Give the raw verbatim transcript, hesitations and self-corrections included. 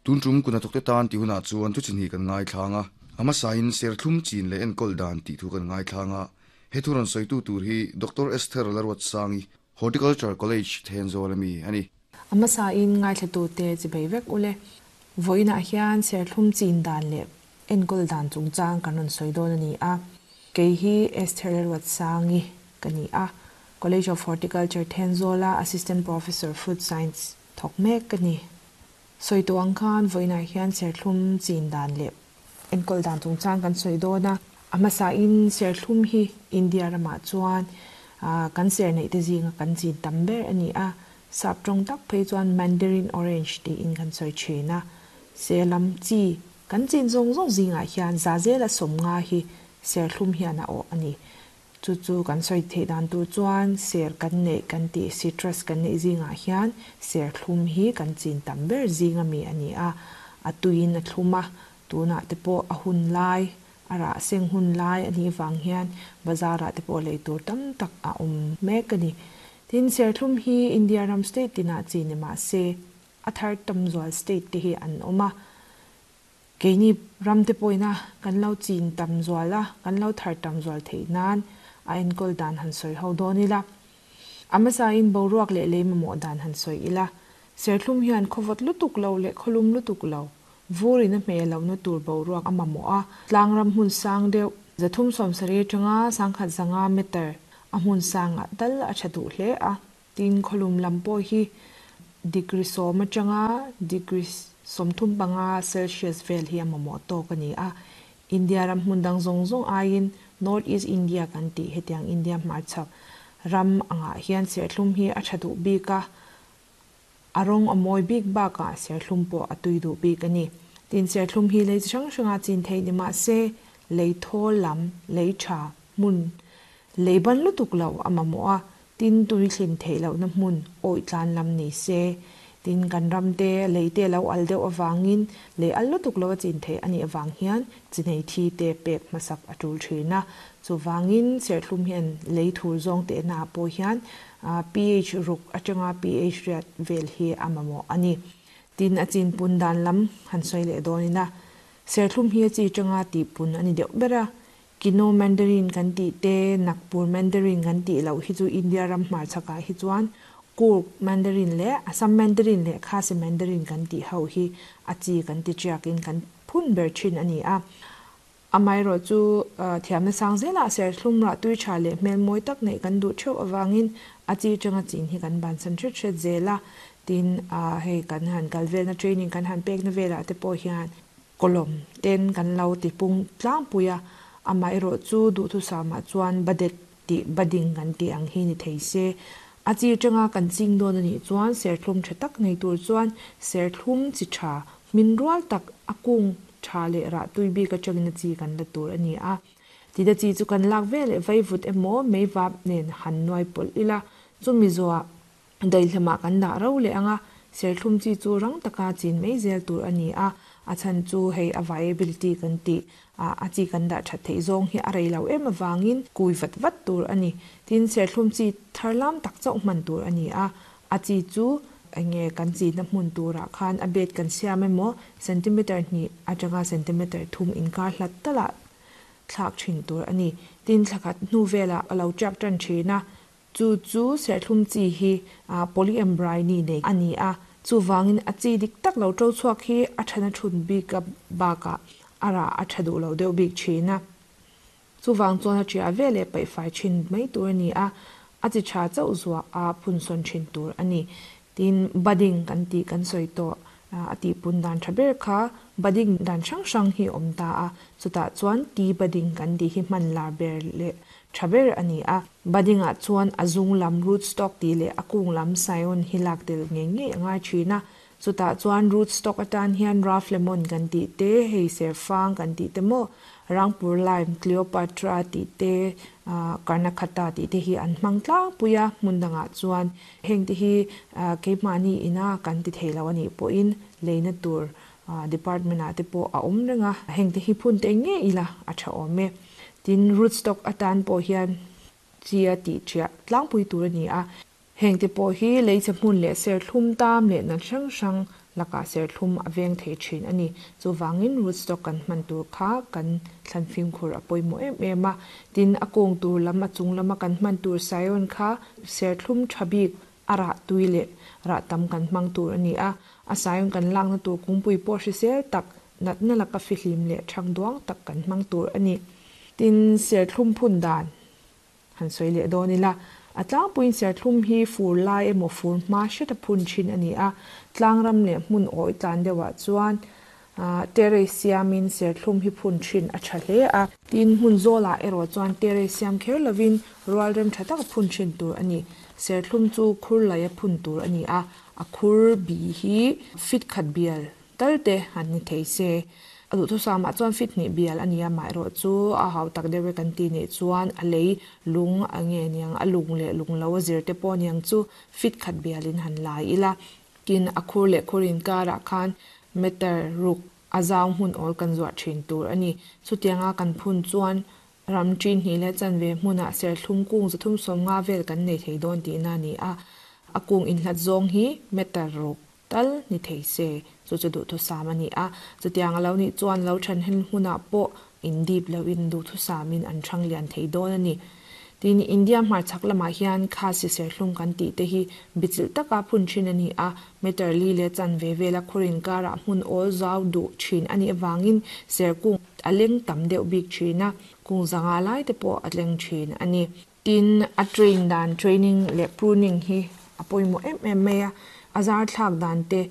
Tun tum kuna thawkte tan tih hunah chuan thu chi hnih kan ngaithlang a, a hmasain serthlum chin leh enkawl dan tih thu kan ngaithlang a. He thu rawn sawitu tur hi Doctor Esther Laruatsangi, Horticulture College, Thenzawl ami a ni. A hmasain ngaithlatute chi bei vek ule. Vawiinah hian serthlum chin dan leh enkawl dan chungchang kan rawn sawi dawn a ni a. Kei hi Esther Laruatsangi ka ni a, College of Horticulture Thenzawla Assistant Professor Fruit Science thawk mek ka ni. Sawi tawh ang khan vawiinah hian serthlum chin dan leh enkawl dan chungchang kan sawi dawn a. A hmasain serthlum hi India ramah chuan kan ser neih te zinga kan chin tam ber a ni a. Sap tawng tak phei chuan Mandarin Orange tiin kan sawi thin a. Serlam chi kan chin zawng zawng zingah hian za zela sawmnga hi serthlum hian a awh a ni. Chu chu kan sawi theih dan tur chuan ser kan neih kan tih citrus kan neih zingah hian serthlum hi kan chin tam ber zinga mi a ni a. A tuiin a thlum a, tunah te pawh a hun lai, a rah seng hun lai a nih vang hian bazarah te pawh lei tur tam tak a awm mek a ni. Tin, serthlum hi India ram state tinah chin ni mah se a thar tam zual state te hi an awm a. Keini ram te pawhina kan lo chin tam zual a, kan lo thar tam zual theih nan a enkawl dan han sawi ho dawn ila. A hmasain boruak leh lei mamawh dan han sawi ila. Serthlum hian khawvawt lutuk lo leh khawlum lutuk lo, vurin a hmeh lohna tur boruak a mamawh a. Tlang ram hmun sang deuh, zathum sawm sarih atanga sangkhat zanga meter a hmun sangah tal a tha duh hle a. Tin, khawlum lam pawh hi degree sawm atanga degree sawmthum panga Celsius vel hi a mamawh tawk a ni a. India ram hmun dang zawng zawng aiin North East India kan tih hetiang India hmarchhak ram angah hian serthlum hi a tha duh bik a. A rawng a mawi bik bakah serthlum pawh a tui duh bik a ni. Tin, serthlum hi lei chi hrang hranga chin theih ni mah se lei thawl lam, lei tha hmun, lei ban lutuk lo a mamawh a. Tin, tui thlin theih lohna hmun awih tlan lam ni se. Tin, kan ram te lei te lo al deuh avangin lei al lutuk lo a chin theih a nih avang hian chi nei thi te pek hmasak a tul thin a. Chuvangin serthlum hian lei thur zawng tehna ah pawh hian pH ruk atanga pH riat vel hi a mamawh a ni. Tin, a chin pun dan lam han sawi leh dawn ina serthlum hi a chi tanga tih pun a ni deuh ber a. Kino Mandarin kan tih te, Nagpur Mandarin kan tih loh hi chu India ram hmarchhakah hi chuan Coorg Mandarin leh Assam Mandarin leh Khasi Mandarin kan tih ho hi a chi kan ti tiakin kan phun ber thin a ni a. Amaherawh chu thiamna sang zelah serthlum rah tui tha leh hmel mawi tak neih kan duh theuh avangin a chi tanga chin hi kan bansan hret hret zel a. Tin, hei kan han kal velna training kan han pekna velah te pawh hian kawlawm ten kan lo ti pung tlangpui a. Amaherawh chu duhthusam ah chuan budded tih budding kan tih ang hi ni thei se. A chi tanga kan ching dawn a nih chuan serthlum tha tak nei tur chuan serthlum chi tha hmin rual tak a kung tha leh rah tui bik atangin a chi kan la tur a ni a. Tida chi chu kan lak vel leh vaivut emaw meivap nen han nuai pawlh ila, chumi zawhah daihlamah kan dah ro leh ang a. Serthlum chi chu rang taka chin mai zel tur a ni a. A chhan chu hei a viability kan tih a, a chi kan dah that theih zawng hi a rei lo em avangin kui vat vat tur a ni. Tin, serthlum chi thar lam tak chauh hman tur a ni a. A chi chu enge kan chinna hmun turah khan a bed kan siam emaw centimeter hnih atanga centimeter thum inkar hlat talah thlak thin tur a ni. Tin, thlakhat hnu velah a lo tiak tan thin a. Chu chu serthlum chi hi polyembryony nei a ni a. Chuvangin a chi dik tak lo to chhuak hi a thana thun bik a bakah a rah a tha duh lo deuh bik thin a. Chuvang chuan a tia vel leh paihfai thin mai tur a ni a, a chi tha chauh zuah a phun sawn thin tur a ni. Tin, budding kan tih kan sawi tawh a tih pun dan tha ber kha budding dan hrang hrang hi awm ta a. Chutah chuan tea budding kan tih hi hman lar ber leh tha ber a ni a. Budding ah chuan a zung lam root stock tih leh a kung lam scion hi lak tel ngei ngei a ngai thin a. Chutah chuan root stock atan hian rough lemon kan tih te, hei serfang kan tih te maw, Rangpur lime, Cleopatra tih te, Karnakata tih te hi an hmang tlangpui a. Hmun dangah chuan heng te hi keimahni ina kan ti thei lo a nih pawhin leina tur department ah te pawh a awm reng a. Heng te hi phun te ngei ila a tha awm e. Tin, root stock atan pawh hian chi a tih thiah tlangpui tur a ni a. Heng te pawh hi leichhe hmun leh serthlum tam leh nat hrang hrang lakah serthlum a veng thei thin a ni. Chuvangin rootstock kan hman tur kha kan thlan fimkhur a pawimawh em em a. Tin, a kung tur lam a chung lama kan hman tur scion kha serthlum tha bik a rah tui leh rah tam kan hmang tur a ni a. A scion kan lakna tur kungpui pawh hrisel tak natna laka fihlim leh thang duang tak kan hmang tur a ni. Tin, serthlum phun dan han sawi leh dawn ila. A tlangpuiin serthlum hi fur lai emaw fur hma hreta phun thin a ni a. Tlangram leh hmun awi tlan deuhah chuan terrace siamin serthlum hi phun thin a tha hle a. Tin, hmun zawlah erawh chuan terrace siam kher lovin rual rem tha tak phun thin tur a ni. Serthlum chu khur laia phun tur a ni a. A khur bi hi fit khat bial tal te han ni thei se. A duhthusam ah chuan fit hnih bial a ni a, amaherawh chu a hau tak deuh e kan ti nih chuan a lei lung a nge niang a lung leh lung lo a zir te pawh niang chu fit khat bialin han lai ila. Tin, a khur leh khur inkarah khan meter ruk a zau hmun awl kan zuah thin tur a ni. Chutianga kan phun chuan ram ṭin hnih leh chanve hmunah serthlum kung zathum sawm nga vel kan nei thei dawn tihna a ni a. A kung inhlat zawng hi meter ruk tal ni thei se. Chu chu duhthusam a ni a. Chutiang a lo nih chuan lo then hen hmunah pawh in dip loin duhthusamin an thang lian thei dawn a ni. Tin, India hmarchhak lamah hian khasi serthlum kan tih te hi bichilh taka phun thin a ni a. Meter li leh chanve vela khur inkarah hmun awl zau duh thin a nih avangin serkung a leng tam deuh bik thin a. Kung zanga lai te pawh a tleng thin a ni. Tin, a train dan training leh pruning hi a pawimawh em em mai a. A zar thlak dan te